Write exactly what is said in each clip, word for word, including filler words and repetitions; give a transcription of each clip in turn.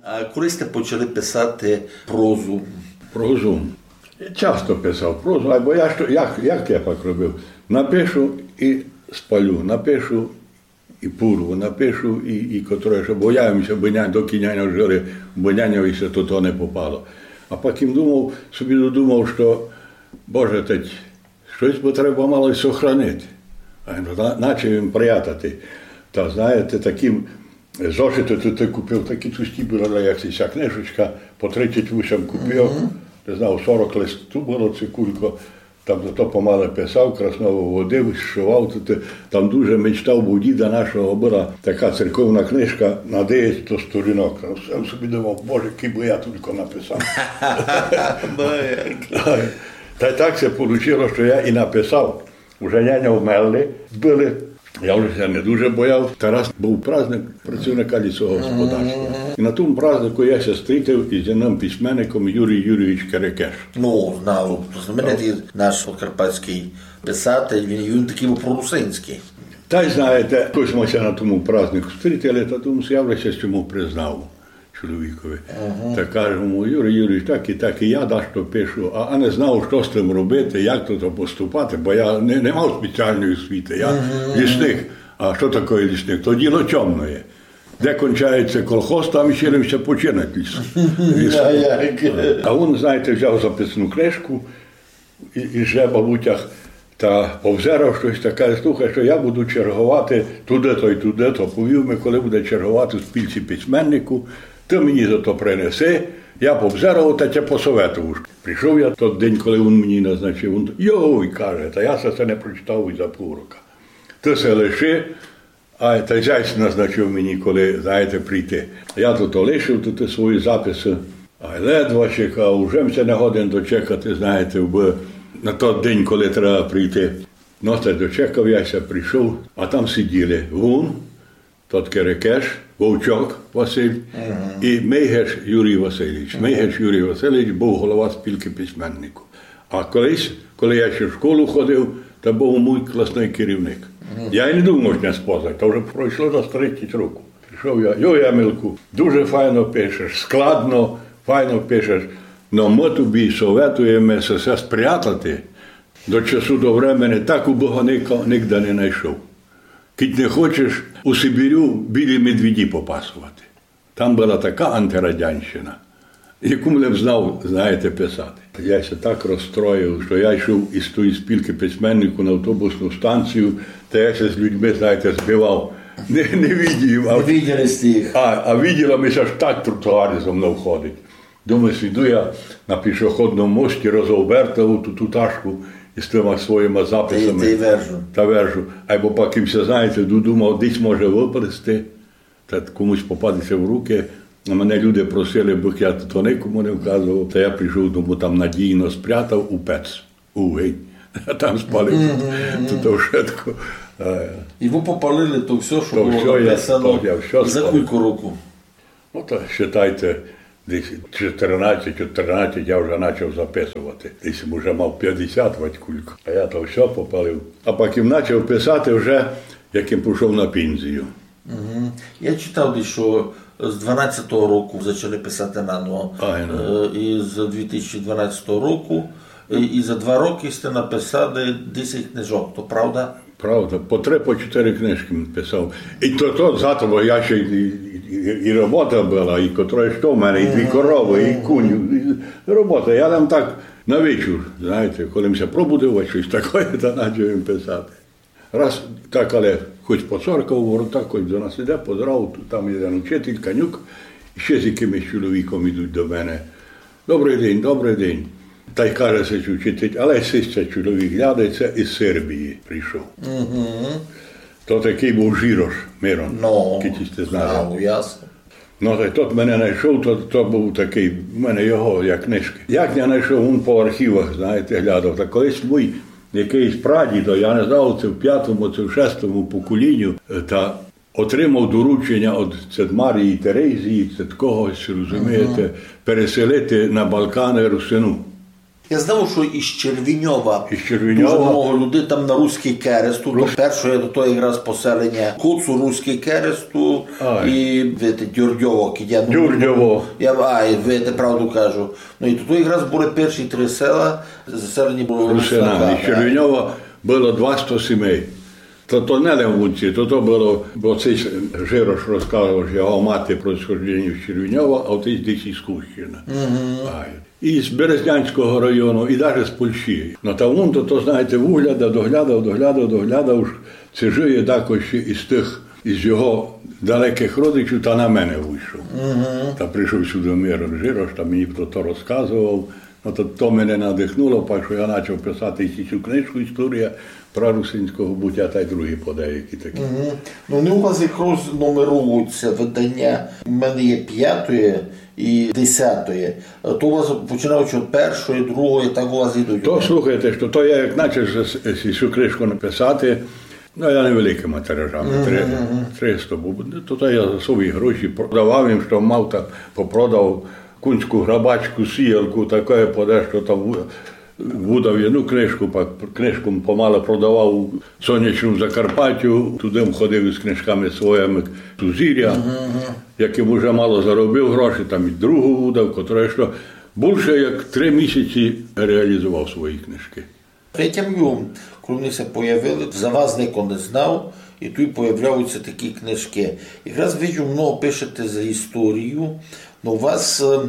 А коли сьте почали писати прозу? Прозу. Часто писав прозу, айбо я што, як, як я пак робив? Напишу і спалю, напишу і пурву, напишу і, і котре, што, бо я їм ся, бо ня-, докы няньо жили, бо няньови ся то, то не попало. А пак їм думав, собі додумав, што, Боже, теть, штось бы треба мало й сохранити. А я на-, начав їм прятати. Та, знаєте, такі зошиты, то ты купив, такі тусті были, як ся книжечка, по тридцять вісім копійок, не знав, сорок листів было ци кулько. Там то помале писав, красно выводив, зшивав, то ты, там дуже мечтав, бо у діда нашого была така церковна книжка на девять сто сторінок. Там собі думав, Боже, кибы я тілько написав. Та й так ся получило, што я і написав. Уже няня вмерли были. Я вже ся не дуже бояв. Тарас быв праздник працівника лісогосподарства. І на тому празднику я ся стрітив із одним письменником Юрій Юрійович Керекеш. Ну, знав, знаменитый наш подкарпатськый писатель, він, він такый быв прорусинськый. Та й знаєте, якось мы ся на тому празднику стрітили, та думав, я вже ся з чому признав чоловікови. Та кажу йому, Юрій Юрійович, так і так, і я дашто пишу, а, а не знав, што з тым робити, як то, то поступати, бо я не, не мав спеціалної освіти, я лісник. А што таке лісник? То діло чомноє. Де кончається колхоз, там і ще ся починать ліс. Ліс. А він, знаєте, взяв записну книжку, і, і жебав у тях та повзерав штось таке, слухай, што я буду черговати туды-то й туды-то. Повів ми, коли буде черговати у спілці письменнику, ты мені за то принеси, я повзерав та тя посоветую. Прийшов я тот день, коли він мені назначив, він, йой, каже, та я се, се не прочитав і за пів рока. Ты се лиши, а та зясь назначив мені, коли, знаєте, прийти. Я то, то лишив, то, то свої записи. А ледва чекав, уже м ся не годен дочекати, знаєте, бо на тот день, коли треба прийти. Ну, та дочекав я ся, прийшов, а там сиділи вун, тот Керекеш, Вовчок Василь і Мейгеш Юрій Васильович. Мейгеш Юрій Васильович быв голова спілки письменників. А колись, коли я ще в школу ходив, то быв мій класный керівник. Я й не думав, што не спознать, то вже пройшло за тридцять років. Прийшов я, йой, Емилку, дуже файно пишеш, складно, файно пишеш, но мы тобі советуєме се, се спрятати до часу, до времени, так убы го нико-, нигде не найшов. Кідь не хочеш у Сибірю білі медведі попасовати. Там была така антирадянщина, яку м лем знав, знаєте, писати. Я ся так розстроїв, што я йшов із тої спілки письменників на автобусну станцію, та я ся з людьми, знаєте, збивав. Не, не видів, а, Не виділи сте їх. А, а виділо ми ся, аж так тротуар зо мнов ходить. Думаю, сиду я на пішохідному мості, розобертав ту, ту ташку із тыма своїма записами. Та й, та й вержу. Та вержу. Айбо пак їм ся, знаєте, додумав, десь може выпасти. Та комусь попадеться в руки. А мене люди просили, бо я то никому не вказовав, та я прийшов дому, там надійно спрятав у пец, у вогонь. А там спалив. То, то вшытко. Е. І вы попалили то всьо, што было написано. То всьо я, то я всьо спалив. За кулько року? Ну, та считайте, десь чотирнадцять, чотирнадцять я вже почав записовати. Десь уже мав пятдесят вать кулько. А я то всьо попалив. А пак їм почав писати вже, як їм пішов на пензію. Мгм. Я читав десь, што з дванадцятого року зачали писати наново. Ай, ну. Е, і з дві тисячі дванадцятого року, і, і за два рокы сьте написали десять книжок, то правда? Правда, по три, по чотири книжкы писав. І то, то зато, бо я ще й, і, і, і робота была, і котре што в мене, і дві коровы, і кунь, і робота. Я там так на вечір, знаєте, коли м ся пробудив, а штось таке, та почав їм писати. Раз так, але хоч поцоркав у ворота, хоч до нас іде, поздрав, тут там єден учитель, Канюк, і ще з якимось чоловіком ідуть до мене. «Добрый день, добрый день». Та й каже сись учитель, але сись ся чоловік глядає, се із Сербії прийшов. Мгм. То такый быв Жірош, Мирон, Ну, кідь сьте знали. Знав, ясно. Ну, та й тот мене найшов, то, то быв такый, в мене його, як книжкы. Як я найшов, він по архівах, знаєте, глядав. Та колись мій якыйсь прадідо, я не знав, ци в пятому, ци в шестому поколінню, е, та отримав дорученя од цид Марії Терезії, цид когось, розумієте, переселити на Балканы русину. Я знав, што із Червіньова. Із Червіньова. Дуже много людей там на Руський Кересту. То перше, то, то якраз поселеня Коцу, Руський Кересту і, видите, Дюрдьово, кидя, ну, Дюрдьово. Я, а, і видите, правду кажу. Ну, і то, то якраз были перші три села, заселені были русинами. Русинами. Із Червіньова было двасто сімей. То, то не лем вунці, то, то было, бо ци Жирош розказовав, што його мати происхожденню з Червіньова, а отець десь із Кущина. Ай. Із Березнянського району, і даже з Польщі. Но та вун то, то, знаєте, вуглядав, доглядав, доглядав, доглядав, уж ци жиє дакось із тых, із його далекых родичів, та на мене вышов. Та пришов сюды Мирон Жирош, та мені про то розказовав. Но то, то мене надихнуло, пак што я начав писати і цю книжку «Історія прарусинського буття» та й другі подеякі такі. Ну, вони у вас якраз нумеруються, виданя. У мене є пятоє і десятоє. То у вас починаючи од першої, другої, так у вас ідуть. То слухайте, што то я як начав з-, з-, цю книжку написати, ну, я невеликыма тиражами, три, триста, бо то, то я за свої гроші продавав їм, што мав, та попродав, кунську грабачку, сіялку, таке подешто там ву-, выдав єдну книжку, пак книжку помалу продавав у Сонячному Закарпаттю, туды ходив із книжками своїми «Сузіря», якым уже мало заробив гроші, там і другу выдав, котра што бульше як три місяці реалізовав свої книжкы. Претямлю, коли вони ся появили, за вас нико не знав, і туй появляються такі книжкы. Якраз виджу, много пишете за історію, но у вас, е,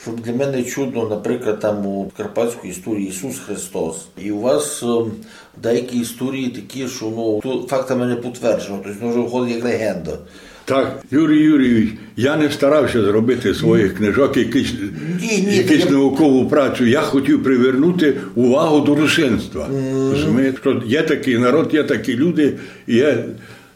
што для мене чудно, наприклад, там у карпатській історії Ісус Христос, і у вас, е, деякі історії такі, што, ну, то фактами не підтверджено, тобто, ну, вже виходить як легенда. Так, Юрій Юрійович, я не старався зробити з своїх книжок якусь, якусь наукову працю. Я хотів привернути увагу до русинства. Розумієте, што є такий народ, є такі люди, і є.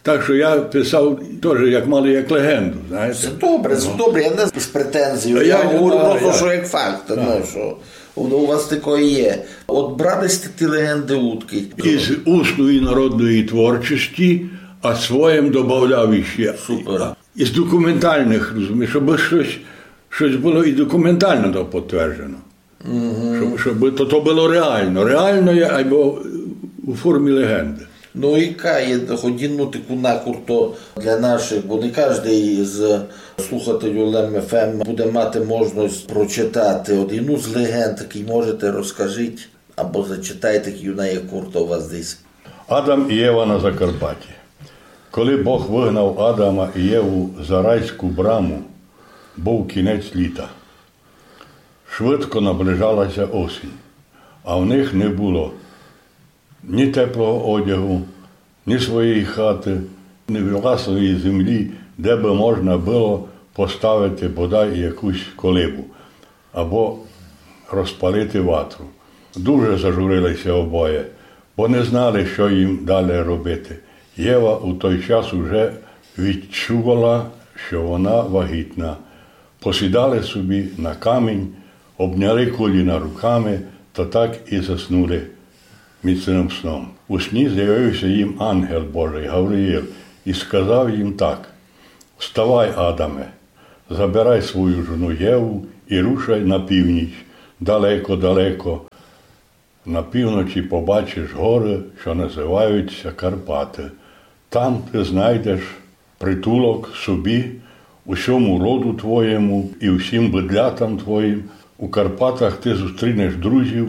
Так што я писав тоже як мало як легенду, знаєте. Се добре, се добре, я не з претензією, я говорю просто, што як факт, ну, што у вас такоє є. От брали сьте ті легенды удкы? Із усної народної творчості, а своїм добавляв іще. Супер. Із документальных, розумієш, щоб штось, штось было і документално то підтверджено. Щоб, щоб то, то было реално. Реално є, айбо у формі легенды. Ну, яка є хоч єдну таку накурто для нашых, бо не каждый із слухателів Лем Ф М буде мати можность прочитати. От єдну з легенд, який можете, розкажіть, або зачитайте, як вона є курто у вас десь. Адам і Єва на Закарпатті. Коли Бог выгнав Адама і Єву за райську браму, быв кінець літа. Швидко наближала ся осінь, а в них не было ні теплого одягу, ні своєї хаты, ні власної землі, де бы можна было поставити бодай якусь колибу або розпалити ватру. Дуже зажурили ся обоє, бо не знали, што їм далі робити. Єва у той час уже відчувала, што вона вагітна. Посідали собі на камінь, обняли коліна руками та так і заснули міцным сном. У сні з'явив ся їм ангел Божий Гавриїл і сказав їм так: «Вставай, Адаме, забирай свою жону Єву і рушай на північ, далеко-далеко. На півночі побачиш горы, што называють ся Карпаты. Там ты знайдеш притулок собі, усьому роду твоєму і всім быдлятам твоїм. У Карпатах ты зустрінеш друзів,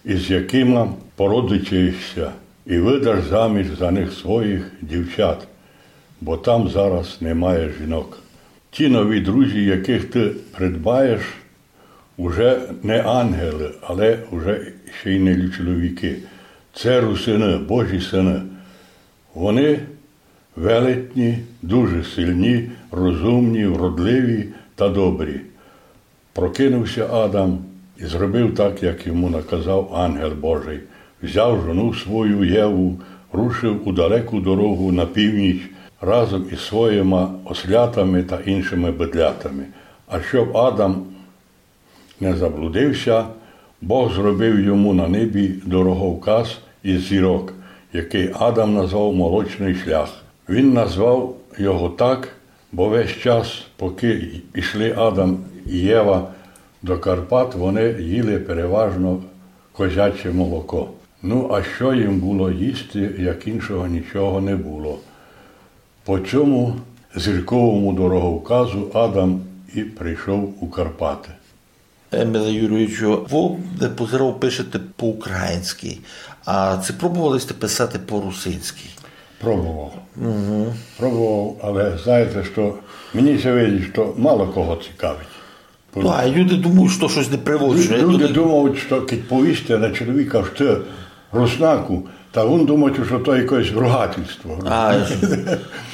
із якыма породичаєш ся, і выдаш заміж за них своїх дівчат, бо там зараз немає жінок. Ті нові друзі, якых ты придбаєш, уже не ангелы, але уже ще й не чоловікы. Це русины, Божі сыны. Вони велетні, дуже сильні, розумні, вродливі та добрі». Прокинув ся Адам і зробив так, як йому наказав ангел Божий. Взяв жону свою Єву, рушив у далеку дорогу на північ разом із своїма ослятами та іншими быдлятами. А щоб Адам не заблудив ся, Бог зробив йому на небі дороговказ із зірок, який Адам назвав «Молочный шлях». Він назвав його так, бо весь час, поки йшли Адам і Єва до Карпат, вони їли переважно козяче молоко. Ну, а што їм было їсти, як іншого нічого не было? По цьому зірковому дороговказу Адам і прийшов у Карпаты. Еміле Юрійовичу, вы, де позирав, пишете по-українськы. А ци пробовали сьте писати по-русинськы? Пробовав. Пробовав, але знаєте, што мені ся видить, што мало кого цікавить. Ну, а люди думають, што штось непривычне. Лю-, люди думають, што кідь повісте на чоловіка, што ты руснаку, та вун думає, што то якесь ругательство. А,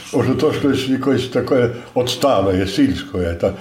што то штось якесь таке отстале, сільське. Та...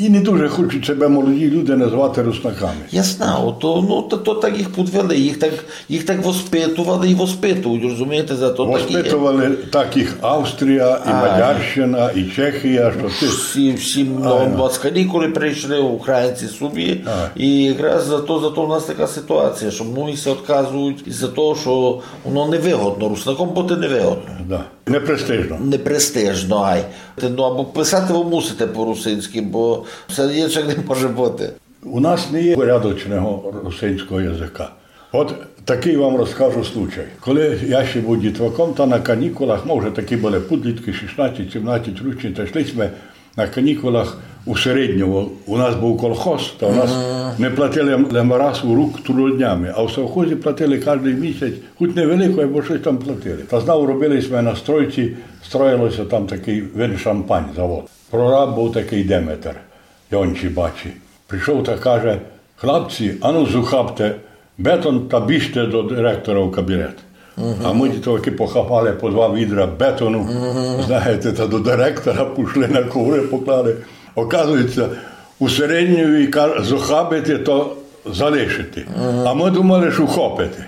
І не дуже хочуть себе молоді люди назвати руснаками. Я знав, то, ну, то, то так їх подвели, їх так, їх так воспитували і воспитують, розумієте, зато так і є. Воспитували так їх Австрія, і Мадярщина, і Чехія, што ты... Всі, всі, ну, у нас канікулы прийшли, українці собі, і якраз зато, зато у нас така ситуація, што многі ся відказують із-за того, што воно невигодно, руснаком бути невигодно. Да. Непрестижно. Непрестижно, ай. Те, ну, або писати вы мусите по-русинськы, бо всьо інше не може бути. У нас не є порядочного русинського языка. От такый вам розкажу случай. Коли я ще быв дітваком, та на канікулах, мы вже такі были пудліткы, шістнадцять, сімнадцять рочні, та йшли сьме на канікулах у Середньово. У нас быв колхоз, та у нас не платили лем раз у рук трудоднями, а в совхозі платили каждый місяць, хоть невелико, або штось там платили. Та знав, робили сьме на стройці, строїло ся там такый вин-шампань завод. Прораб быв такый Деметер, Йончі бачі. Прийшов та каже: «Хлапці, ану зухапте бетон та біжте до директора в кабінет». А мы дітвакы похапали по два відра бетону, знаєте, та до директора пішли, на ковры поклали. Оказується, у Середньові, каже, зухабити то залишити. А мы думали, што ухопити.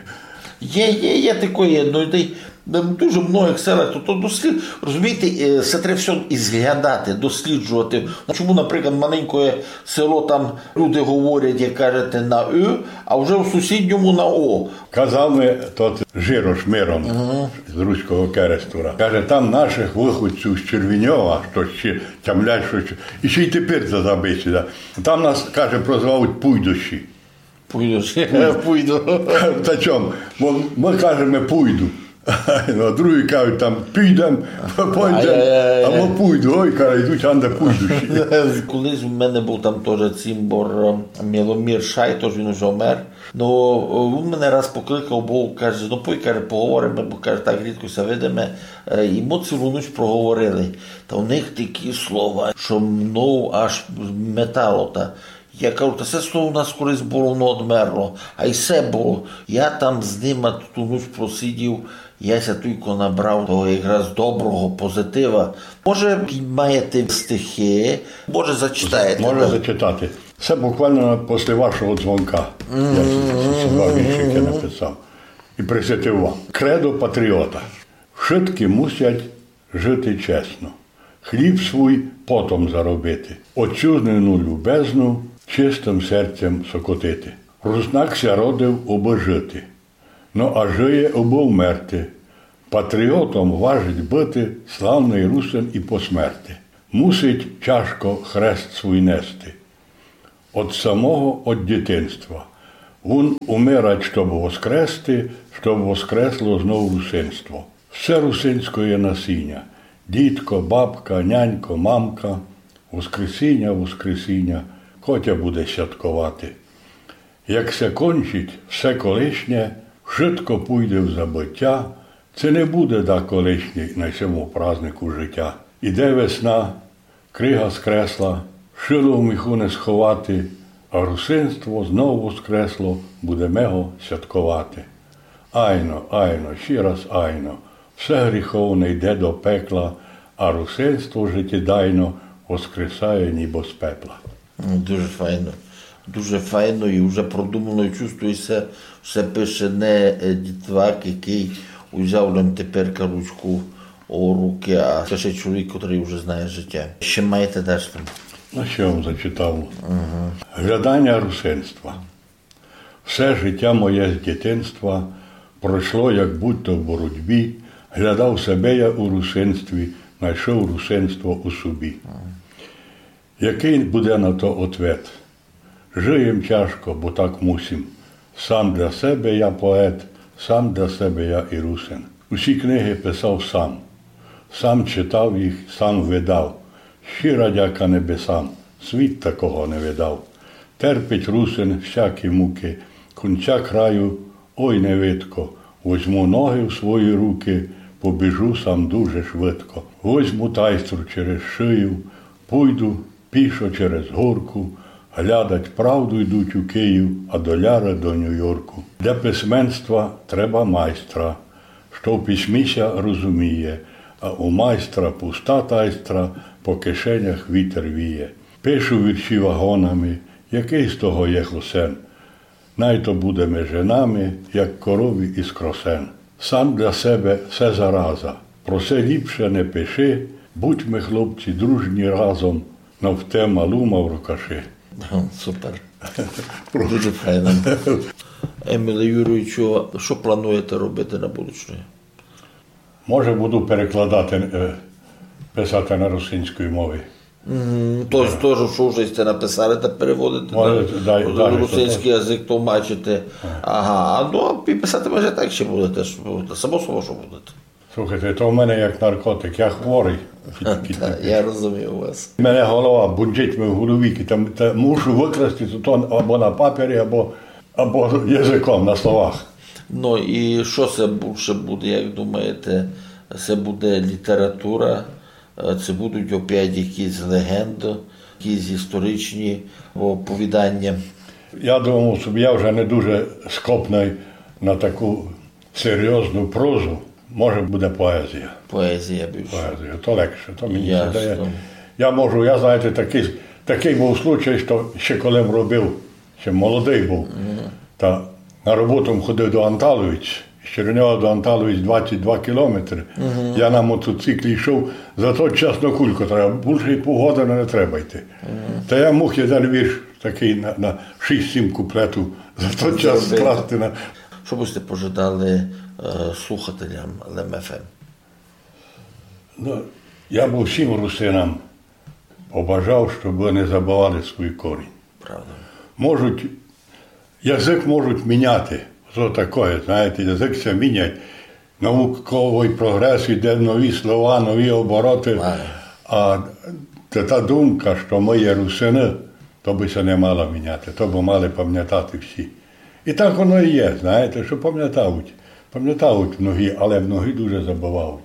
Є, є, є такоє, ну, та й в дуже многых селах, то, то дослід-, розумієте, е, се треба всьо ізглядати, досліджовати. Ну, чому, наприклад, маленькоє село, там люди говорять, як кажете, на ы, а вже в сусідньому на о? Казав ми тот Жирош Мирон з Руського Керестура. Каже: «Там нашых выходців з Червіньова, што ще тямлять, што ще, і ще й тепер за забиті, да. Там нас, каже, прозвавуть пуйдущі». Пуйдущі. Пуйду. Та чом? Бо мы кажеме пуйду. Ну, а другі кажуть там: «Підем, пойдем», а мы пуйду. Ой, каже, йдуть, анде пуйдущі. Колись у мене быв там тоже цімбор, е, Миломір Шай, тож він уже вмер. Ну, він мене раз покликав, бо каже: «Ну, пой, каже, поговориме, бо, каже, так рідко ся видиме». Е, і мы цілу ніч проговорили. Та у них такі слова, што мнов аж метало та. Я кажу: «Та се слово у нас колись было, воно одмерло. А й се было». Я там з нима ту ніч просидів, я ся тілько набрав того якраз доброго позитива. Може, маєте стихи, може, зачитаєте, так? Можу зачитати. Се буквално після вашого дзвонка. Я ці, ці, ці два віршикы написав. І присвятив вам. Кредо патріота. Вшыткі мусять жити чесно, хліб свуй потом заробити, отчызнину любезну чистым серцем сокотити. Руснак ся родив, обы жити, но а жиє, обы вмерти. Патріотом важить быти славный русин і по смерти. Мусить тяжко хрест свуй нести од самого, од дітинства. Вун умирать, щоб воскрести, щоб воскресло знов русинство. Всьо русинськоє насіня, дідко, бабка, нянько, мамка, воскресіня, воскресіня, котя буде святковати. Як ся кончить все колишнє, вшытко пуйде в забытя, ци не буде да колишній на сьому празднику житя. Іде весна, крига з кресла, шило в міху не сховати, а русинство знов воскресло, будеме го святковати. Айно, айно, ще раз айно, все гріховне йде до пекла, а русинство житєдайно воскресає нібы з пепла. Дуже файно. Дуже файно і вже продумано, і чувствує ся, все пише не, е, дітвак, якый узяв лем теперка ручку у руки, а це ще чоловік, котрый вже знає житя. Ще маєте дашто? Ну, ще вам зачитав. Глядання русинства. Все житя моє з дітинства пройшло, як будто в боротьбі, глядав себе я у русинстві, найшов русинство у собі. Якый буде на то ответ? Жиєм тяжко, бо так мусим. Сам для себе я поет, сам для себе я і русин. Усі книги писав сам. Сам читав їх, сам видав. Щира дяка небесам, світ такого не видав. Терпить русин всякі муки, кунця краю ой не видко. Возьму ноги в свої руки, побіжу сам дуже швидко. Возьму тайстру через шию, пуйду пішо через горку, глядать правду йдуть у Київ, а доляра до Нью-Йорку. Для письменства треба майстра, што в письмі ся розуміє, а у майстра пуста тайстра, по кишенях вітер віє. Пишу вірші вагонами, який з того є хосен? Най то буде межи нами, як корові із кросен. Сам для себе все зараза. Про се ліпше не пиши, будьме, хлопці, дружні разом, но в те малу маврокаши. Супер. Дуже файно. Еміле Юрійовичу, што плануєте робити на будучне? Може, буду перекладати, е, писати на русинській мові. Мгм. То, то, што вже сте написали та переводите на русинськый язык, тлумачите. Ага, а ну, і писати може так ще будете, што будете, само собою, што будете. Слухайте, то в мене як наркотик, я хворий. Та, я розумію вас. Мене голова бунчить ми в голові, там, та мушу викласти то, то або на папері, або, або язиком, на словах. Ну, і што се бульше буде, як думаєте? Се буде література, е, се будуть опять якісь легенды, якісь історичні оповідання? Я думав собі, я вже не дуже скопний на таку серйозну прозу. Може, буде поезія. Поезія більше. Поезія, то легше, то мені ся дає. Ясно. Я можу, я, знаєте, такий, такий був случай, што ще коли м робив, ще молодий був, та на роботу м ходив до Анталович, з Чернігова до Анталович двадцять два кілометри. Я на мотоциклі йшов, за тот час, ну, кулько треба, бульше й півгодини не треба йти. Та я муг єден вірш такий на, на шість-сім куплетів за тот час скласти на. Што бы сте пожадали, е, слухателям Лем Ф М? Ну, я бы всім русинам побажав, щоб не забывали свій корінь. Правда. Можуть, язык можуть міняти. Што такоє, знаєте, язык ся міняє. Науковый прогрес, іде нові слова, нові обороты. А та, та думка, што мы є русины, то бы ся не мала міняти, то бы мали памнятати всі. І так воно і є, знаєте, што памнятають. Памнятають многі, але многі дуже забывають.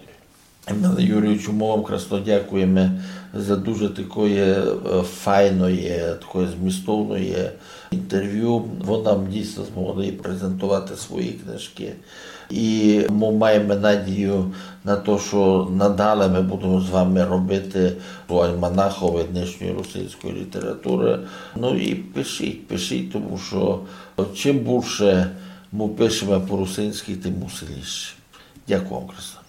Еміле Юрійовичу, мы вам красно дякуєме за дуже такоє, е, файноє, такоє змістовноє інтервю. Вы нам дійсно змогли презентовати свої книжкы. І мы маєме надію на то, што надале мы будеме з вами робити у альманахови днешньої русинської літературы. Ну і пишіть, пишіть, тому што чим бульше мы пишеме по-русинськы, тым усилніше. Дякую вам красно.